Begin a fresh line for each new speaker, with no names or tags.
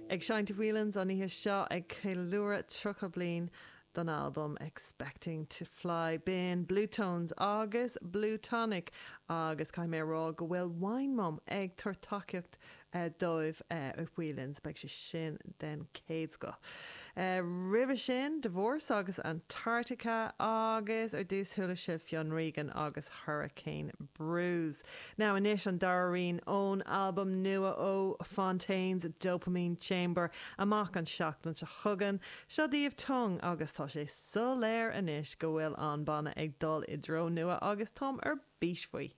Ag seinnt i Whelan's an oíche seo ag ceiliúradh 30 bliain don albam Expecting to Fly. B'in Bluetones agus Blue Tonic agus caithfidh mé a rá go bhfuil Wine Mum ag tabhairt tacaíocht dóibh i Whelan's. Beidh sé sin den chéad scoth. Roimhe sin, Divorce agus Antarctica agus ar dtús chuala sibh Fionn Regan agus Hurricane Bruise. Now anois an dara rian ón albam nua ó Fontaines, Dopamine Chamber, amach an seachtain seo chugainn. Seo daoibh Tongue agus tá sé soiléir anois go bhfuil an banna ag dul i dtreo nua agus táim ar bís faoi.